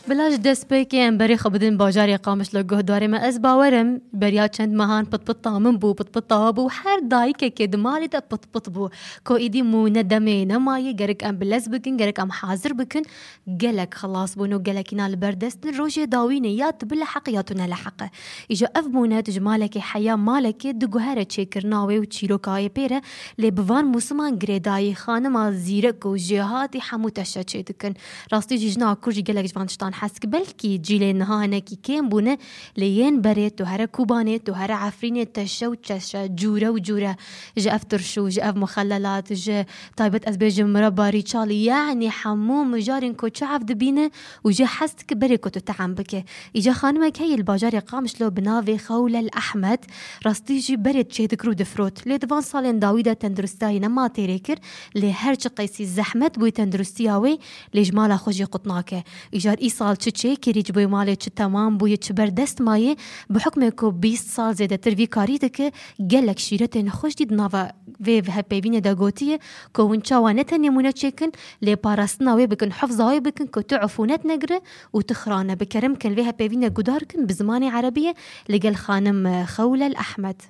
بلاش دست بيكين بري خبدين باجاري قامش لگه داره ما از باورم بریا چند ماهان پت من بو پت بو هر دایکه که دمالی دا پت بو کو ایدی مو ندمه نمایی گرک ام بلز بکن گرک ام حاضر بکن گلک خلاص بونو گلکینا البردست الروجه داوینه یاد بالحق یاتونه لحقه ایجا اف مونه تجمالك حیا مالك دگوهره چکرناوی و چیروکای پیره لبوان موسمان گریدای خانم زیرک و جهاتی حموتشه چه دکن راستی جیجنا کرجی گلک جوانشتان حسك بلكي جيلي نهانا كي كين بونا لين بريت وهرا كوبانيت وهرا عفرينيت تشا وتشا جورا وجورا جا افترشو جا اف مخللات جا طيبت ازبيج مربى ريتشالي يعني حموم جارين كو تشعف دبينه وجا حسك بريكو تتعم بك اجا خانمك هي الباجاري قامش لو بنافي خولة الأحمد راستيجي بريت شي ذكرو دفروت لي دفان صالين داويدا تندرستاي نما تيريكر لي هرش قيسي الزحمت بوي تندرستياوي لي جمالا خوجي قطناكه اجار صال تشي كيريج بوي مالي تمام بوي تبردست ماي بحكم كو 20 صال زيادة ترفي كاريتك قالك شيرتين خوش دي دنافا في هبيبينه داغوتيه كو ونشا وانتني مونه تشيكن لي باراسناوي بكن حفظاوي بكن كو تعفونات نقره وتخرانه بكرم كان فيها بيبينه قداركن بزماني عربيه لقال خانم خولة الأحمد.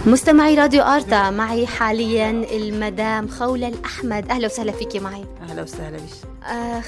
مستمعي راديو آرتا معي حاليا المدام خولة الأحمد. أهلا وسهلا فيكي معي. أهلا وسهلا بك.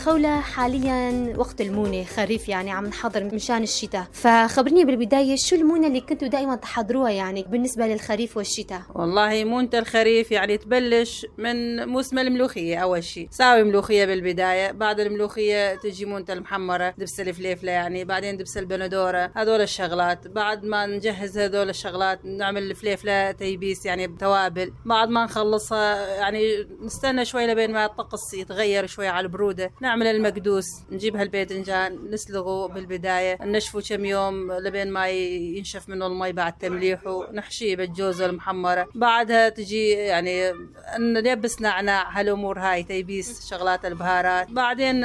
خولة حاليا وقت المونة خريف يعني عم نحضر مشان الشتاء فخبرني بالبداية شو المونة اللي كنتوا دائما تحضروها يعني بالنسبة للخريف والشتاء؟ والله مونة الخريف يعني تبلش من موسم الملوخية أول شيء ساوي ملوخية بالبداية بعد الملوخية تجي مونة المحمرة دبس الفليفلة يعني بعدين دبس البندورة هذول الشغلات بعد ما نجهز هذول الشغلات نعمل الفليفلة تيبيس يعني بتوابل بعد ما نخلصها يعني نستنى شوي لبين ما الطقس يتغير شوي على البرودة نعمل المقدوس نجيب هالباذنجان نسلقه بالبداية نشفه كم يوم لبين ما ينشف منه المي بعد تمليحه نحشيه بالجوز المحمرة بعدها تجي يعني نلبس نعناع هالأمور هاي تيبيس شغلات البهارات بعدين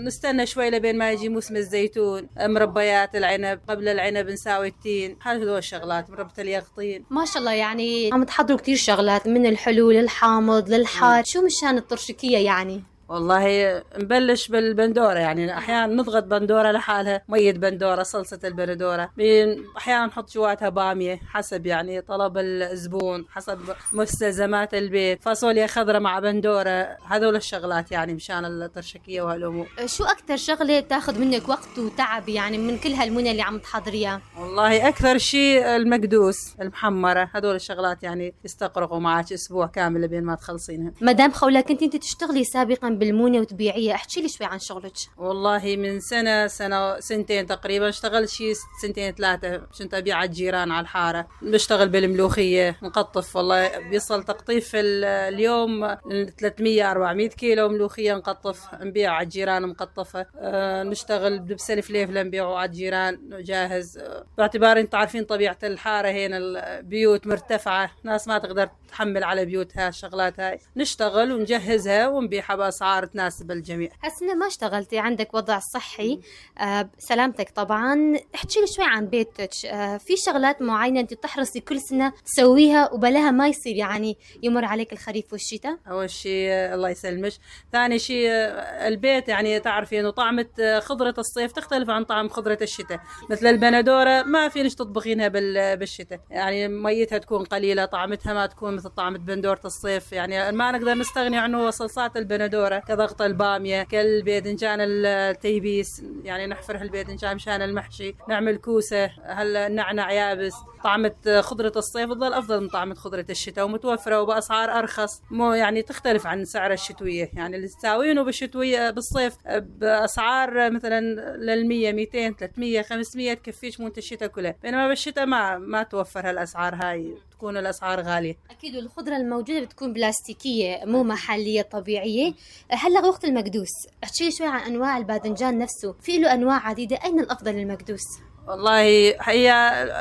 نستنى شوي لبين ما يجي موسم الزيتون مربيات العنب قبل العنب نساوي التين هذول الشغلات مربى اليقطين ما شاء الله يعني عم تحضروا كتير شغلات من الحلو للحامض للحار شو مشان الطرشكية يعني؟ والله نبلش بالبندورة يعني أحيانا نضغط بندورة لحالها مية بندورة صلصة البندورة أحيانا نحط جواتها بامية حسب يعني طلب الزبون حسب مستلزمات البيت فاصوليا خضرة مع بندورة هذول الشغلات يعني مشان الطرشكية وهالأمور. شو أكتر شغلة تاخد منك وقت وتعب يعني من كل هالمنى اللي عم تحضريها؟ والله أكثر شيء المقدوس المحمرة هذول الشغلات يعني يستقرقوا معك أسبوع كامل بين ما تخلصينها. مدام خولة كنت أنت تشتغلي سابقا بالمونة وتبيعية احكي لي شوي عن شغلك. والله من سنتين تقريبا اشتغلت شي 2-3 كنت أبيع على الجيران على الحارة بشتغل بالملوخية نقطف والله بيصل تقطيف اليوم 300-400 كيلو ملوخية نقطف نبيع على الجيران مقطفة نشتغل بدبس الفليفلة نبيعه على الجيران جاهز باعتبار انت عارفين طبيعة الحارة هنا البيوت مرتفعة ناس ما تقدر تحمل على بيوتها الشغلات هاي نشتغل ونجهزها ونبيعها بأسعار تناسب الجميع. هالسنة ما اشتغلتي عندك وضع صحي سلامتك طبعا احكي لي شوي عن بيتك في شغلات معينة انت تحرصي كل سنة تسويها وبلاها ما يصير يعني يمر عليك الخريف والشتاء؟ أول شيء الله يسلمش ثاني شيء البيت يعني تعرفي انه طعمة خضرة الصيف تختلف عن طعم خضرة الشتاء مثل البندورة ما فينش تطبخينها بالشتاء يعني ميتها تكون قليلة طعمتها ما تكون مثل طعمة بندورة الصيف يعني ما نقدر نستغني عنه صلصات البندورة كضغط البامية كالباذنجان التيبيس يعني نحفر هالباذنجان مشان المحشي نعمل كوسة هالنعنع يابس طعمة خضرة الصيف تظل أفضل من طعمة خضرة الشتاء ومتوفرة وبأسعار أرخص مو يعني تختلف عن سعر الشتوية يعني اللي تساوينه بالشتوية بالصيف بأسعار مثلا للمية 200 300 500 تكفيش مونت الشتاء كله بينما بالشتاء ما توفر هالأسعار هاي تكون الأسعار غالية. أكيد الخضرة الموجودة بتكون بلاستيكية مو محلية طبيعية. هلا وقت المقدوس احكي شوي عن أنواع الباذنجان نفسه في له أنواع عديدة أين الأفضل المقدوس؟ والله هي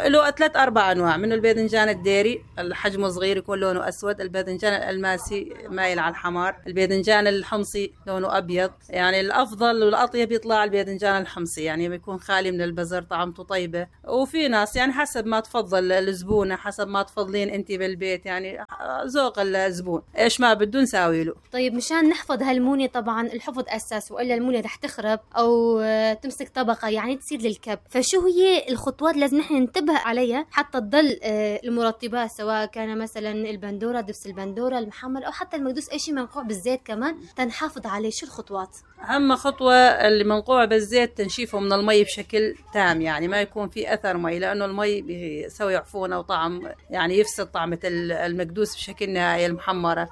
له 3-4 أنواع، منه الباذنجان الديري الحجم صغير يكون لونه أسود، الباذنجان الألماسي مايل على الحمار، الباذنجان الحمصي لونه أبيض. يعني الأفضل والأطيب يطلع الباذنجان الحمصي، يعني بيكون خالي من البزر، طعمته طيبة. وفي ناس يعني حسب ما تفضل الزبونة، حسب ما تفضلين أنت بالبيت، يعني ذوق الزبون إيش ما بده نساوي له. طيب مشان نحفظ هالمونة، طبعا الحفظ أساس، وإلا المونة رح تخرب أو تمسك طبقة يعني تصير للكب. فشو هي الخطوات لازم نحن ننتبه عليها حتى تضل المرطبات، سواء كان مثلا البندورة، دبس البندورة، المحمر، أو حتى المقدوس، أي شيء منقوع بالزيت كمان تنحافظ عليه؟ شو الخطوات؟ أهم خطوة اللي منقوع بالزيت تنشيفه من المي بشكل تام، يعني ما يكون في أثر مي، لأنه المي بيسوي عفونة وطعم، يعني يفسد طعمة المقدوس بشكل نهائي. المحمرة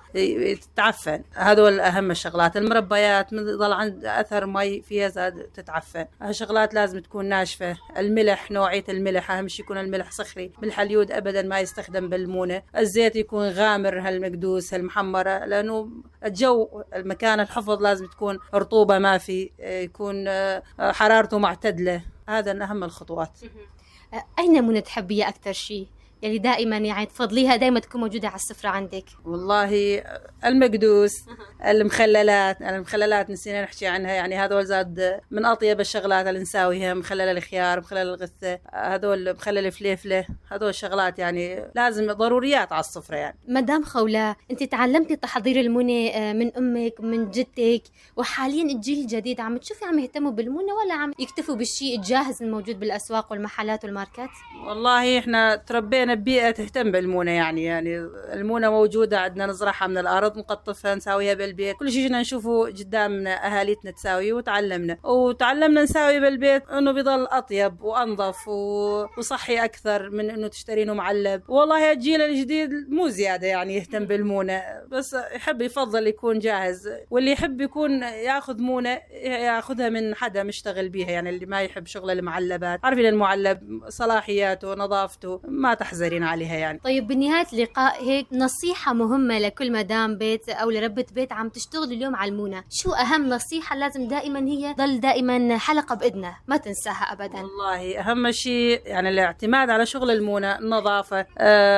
تتعفن، هذول أهم الشغلات. المربيات ضل عند أثر مي فيها زاد تتعفن، هالشغلات لازم تكون ناشفة. الملح، نوعية الملح أهم شيء يكون الملح صخري، ملح اليود أبدا ما يستخدم بالمونة. الزيت يكون غامر هالمقدوس هالمحمرة، لأنه الجو المكان الحفظ لازم تكون رطوبة، ما في يكون حرارته معتدلة. هذا من أهم الخطوات. أين مونة تحبيها أكتر شيء؟ يلي دائما يعني تفضليها دائما تكون موجودة على السفرة عندك؟ والله المقدوس، المخللات نسينا نحكي عنها، يعني هذول زاد من أطيب الشغلات اللي نساويها. مخلل الخيار، مخلل الغثة، هذول مخلل الفليفلة، هذول الشغلات يعني لازم ضروريات على السفرة. يعني مدام خولا، أنت تعلمتي تحضير المونة من أمك من جدتك، وحاليا الجيل الجديد عم تشوفي عم يهتموا بالمونة ولا عم يكتفوا بالشيء الجاهز الموجود بالأسواق والمحلات والماركات؟ والله إحنا تربينا ببيئة تهتم بالمونة، يعني المونة موجودة عندنا، نزرعها من الأرض، نقطفها، نساويها بالبيت. كل شيء نشوفه قدامنا أهاليتنا تساويه، وتعلمنا نساوي بالبيت، إنه بيضل أطيب وأنظف وصحي أكثر من إنه تشترينه معلب. والله الجيل الجديد مو زيادة يعني يهتم بالمونة، بس يفضل يكون جاهز، واللي يحب يكون ياخذ مونة ياخذها من حدا مشتغل بيها، يعني اللي ما يحب شغل المعلبات. عارفين المعلب صلاحياته نظافته ما تحزرين عليها يعني. طيب بنهاية اللقاء هيك نصيحة مهمة لكل مدام بيت أو لربة بيت عم تشتغل اليوم على المونة، شو أهم نصيحة لازم دائما هي ضل دائما حلقة بإذنها ما تنساها أبدا؟ والله أهم شيء يعني الاعتماد على شغل المونة، النظافة،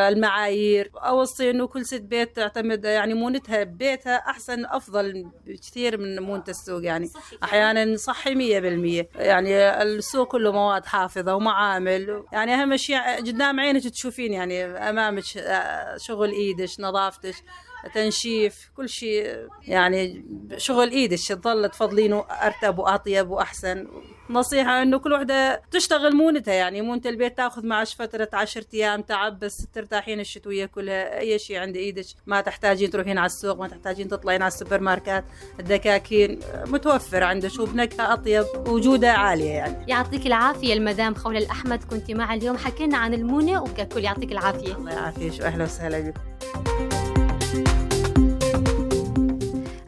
المعايير. أوصي إنه كل ست بيت تعتمد يعني مونتها ببيتها أحسن، أفضل بكثير من مونة السوق. يعني أحيانا صحي 100%، يعني السوق كله مواد حافظة ومعامل. يعني أهم شيء قدام عينك تشوفين، يعني أمامك شغل إيدش، نظافتش، تنشيف، كل شيء يعني شغل إيدش تظل تفضلينه أرتب وأطيب وأحسن. نصيحة إنه كل وحدة تشتغل مونتها، يعني مونة البيت تأخذ معش فترة 10 أيام تعب، بس ترتاحين الشتوية كلها. أي شيء عند إيدك، ما تحتاجين تروحين على السوق، ما تحتاجين تطلعين على السوبر ماركت، الدكاكين متوفر عندك وبنكهة أطيب وجودة عالية. يعني يعطيك العافية المدام خولا الأحمد، كنتي معي اليوم حكينا عن المونة وككل. يعطيك العافية. الله يعافيك، وأهلا وسهلا بكم.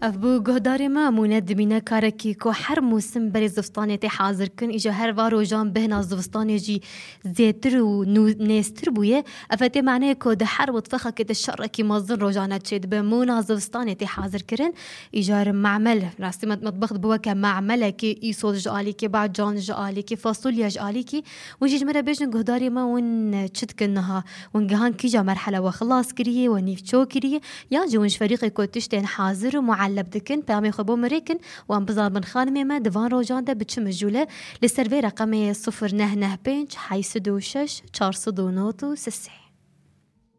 أفبو جهداري ما موند بينا كاركي كو حر موسم بري زفستاني تي حاضر كن إجا هر وارو جان بهنا زفستاني جي زيتر و نيستر بويه أفتي معناه كو ده حر وطفخة كده الشرة كي مازن روجانا تشيد بمونا زفستاني تي حاضر كرن إجا معمل راسي مطبخ بوكا معملة كي إيصول جالي كي بعد جان جالي كي فاصوليا جالي كي وجي جمرة بيجن جهداري ما ون تشد كنها ونجهان كيجا مرحلة وخلاص كريه ونيف شو كريه ياجي ونش فريقي كو تشتين حاضر ومعلب بدكن بامي خبو مريكن وان بزار من خانمي ما دفان روجان ده بتشم الجولة للسيرفي رقمي 0 9 5 6 6 4 9 6.